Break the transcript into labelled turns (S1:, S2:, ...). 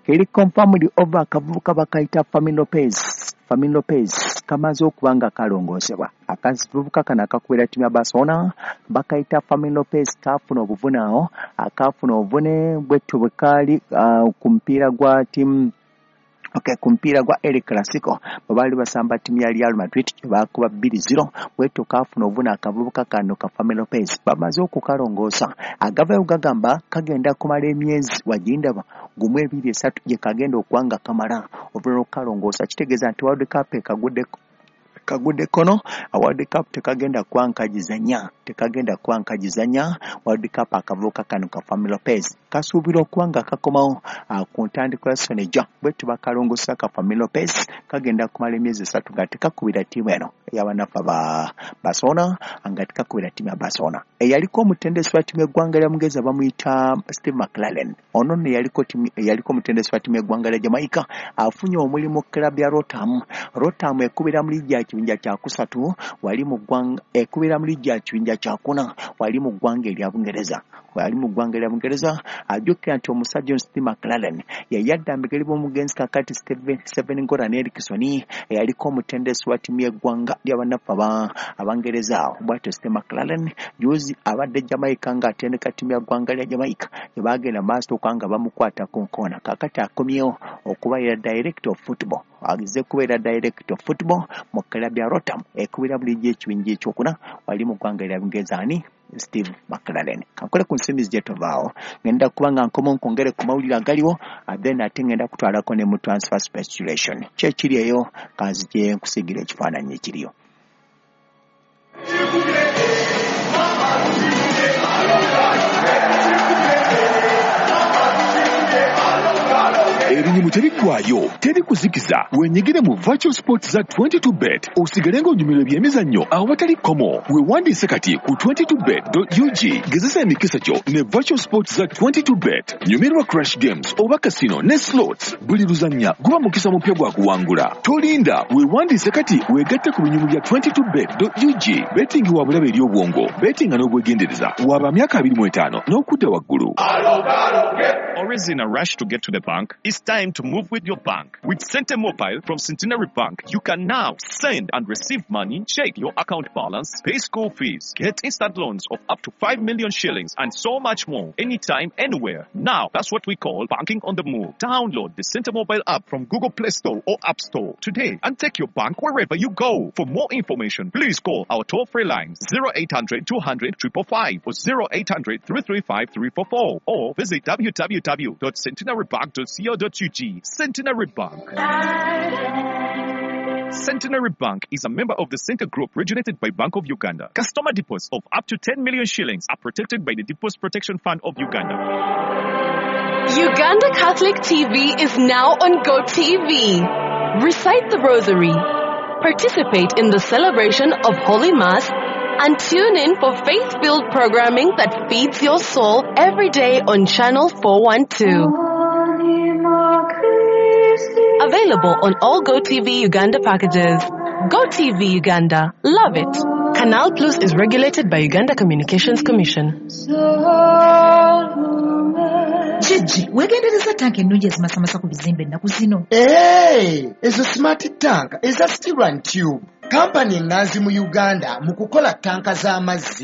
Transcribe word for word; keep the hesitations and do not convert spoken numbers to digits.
S1: Keri confirmed over akavubuka bakayita Fermin Lopez. Fermin Lopez kamaze okuba nga kalongoosebwa. Akavubuka kano akakubira ttiimu ya Barcelona bakayita Fermin Lopez kaafuna obuvune awo, akaafuna obuvune bwetyo bwe kaali uh, ku mupiira gwa ttiimu, okay, ku mupiira gwa El Clasico bwe baali basamba ttiimu ya Real Madrid gye baakuba bbiri zero. Bwetyo kaafuna obuvune akavubuka kano ka Fermin Lopez, bamaze okukalongoosa. Agavayo gagamba kagenda kumala emyezi wagindaba gumu, ebiri, esatu gye kagenda okuba nga kamala oluvannyuma lw'okukalongoosa. Kitegeeza nti World Cup ekaguddeko kagudde kono. World Cup tekagenda kuba nkagizanya, tekagenda kuba nkagizanya World Cup. Akavubuka kano ka Fermin Lopez kasuubirwa okuba nga kakomawo ku ntandikwa ya season ejja. Bwe tubakalongosa ka Fermin Lopez kagenda kumala emyezi esatu nga tekakubira ttiimu eno ey'abanafu ba Barcelona, nga tekakubira ttiimu ya Barcelona. Eyaliko omutendesi wa ttiimu y'eggwanga lya Bungereza bamuyita Steve McClaren. Ono nno yaliko eyaliko omutendesi wa ttiimu y'eggwanga lya Jamaica, afunye omulimu club ya Rotherham. Rotherham ekubira mu liigi ya kibinja kyakusatu wali mu ggwanga, ekubira mu liigi ya kibinja kyakuna wali mu ggwanga erya Bungereza, wali mu ggwanga erya Bungereza. Ajjukira nti omusajja ono Steve McClaren yeyadda mbegeri b'omugenzi kakati Sven Goran Eriksson, eyaliko omutendesi wa ttiimu y'eggwanga ly'abanafu Abangereza awo. Bwatyo Steve McClaren juzi abadde Jamaica ng'atendeka ttiimu ya ggwanga lya Jamaica, tebagenda maaso okuba nga bamukwata ku nkoona. Kakati akomyewo okubeera director of football, agize kubeera director of football mu club ya Rotherham ekubira mu liigi ekibinja ekyokuna wali mu ggwanga erya Bungereza. Ani? Steve McClaren. Kankole ku nsimbi gye tovaawo, ngenda kuba nga nkoma nkwongere ku mawulire agaliwo, then ate ngenda kutwalako ne mu transfer speculation ki ekiri eyo. Kanzije nkusigira ekifaananyi ekiriyo.
S2: Ebinyumu tebiggwayo, teri kuzikiza. Wenyigire mu virtual sports za twenty-two bet, osigale ng'onyumirwa ebyemizannyo awatali kkomo. Weewandiise kati ku twenty-two bet dot U G. Gezesa emikisa gyo ne virtual sports za twenty-two bet. Nyumirwa crash games oba casino ne slots. Buli luzannya guba mukisa mupya gwa kuwangula. Tolinda, weewandiise kati weegatte ku binyumu bya twenty-two bet dot U G. Betting wa bulabe eri obwongo. Bettinga n'obwegendereza. Waba myaka abiri mu etaano n'okudda waggulu.
S3: Always in a rush to get to the bank? It's time to move with your bank. With Sente Mobile from Centenary Bank, you can now send and receive money, check your account balance, pay school fees, get instant loans of up to five million shillings, and so much more. Anytime, anywhere. Now, that's what we call banking on the move. Download the Sente Mobile app from Google Play Store or App Store today and take your bank wherever you go. For more information, please call our toll-free lines zero eight hundred two hundred five five five or zero eight hundred three three five three four four or visit w w w dot centenarybank dot co dot U G. Centenary Bank. Centenary Bank is a member of the Center Group regulated by Bank of Uganda. Customer deposits of up to ten million shillings are protected by the Deposit Protection Fund of Uganda.
S4: Uganda Catholic T V is now on GoTV. Recite the Rosary, participate in the celebration of Holy Mass, and tune in for faith-filled programming that feeds your soul every day on Channel four one two. Available on all GoTV Uganda packages. GoTV Uganda. Love it. Canal Plus is regulated by Uganda Communications Commission.
S5: Gigi, weegendereza tanka ennungi ezimasamasa ku bizimbe ennaku zino.
S6: Ee, ezo smart tank eza Steel and Tube, kampani eŋŋanzi mu Uganda mu kukola tanka z'amazzi.